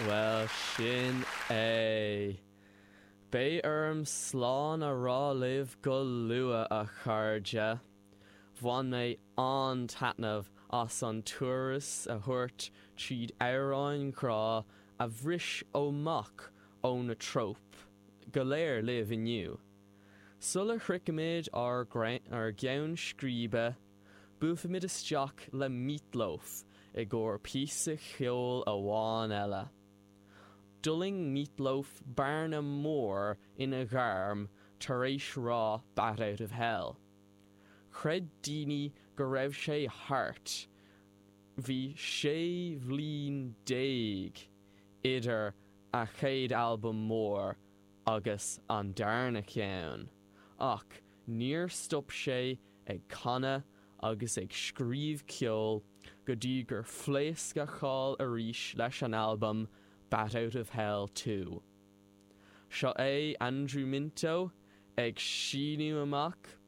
Bhuel, sin é. Beidh orm slán a rá libh go luath, a chairde. Bhain mé an-taitneamh as an turas a thabhairt tríd amhráin ghrá a bhris amach ó na tróip go léir libh inniu. Sula shroichimid ár gceann scríbe, buailfimid isteach le Meat Loaf i gcomhair píosa ceoil amháin eile. D'fhulaing Meat Loaf bearna mór ina ghairm tar éis rath Bat Out of Hell. Chreid daoine go raibh sé thart, bhí 16 bhliain idir a chéad albam mór agus an darna ceann, ach níor stop sé ag canadh agus ag scríobh ceoil go dtí gur phléasc a cháil arís leis an albam Bat Out of Hell 2. Seo é Andrew Minto ag síneadh amach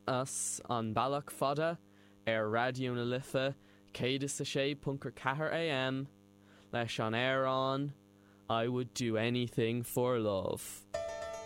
as an bealach fada ar Raidió na Life 106.4 AM leis an amhrán I Would Do Anything For Love.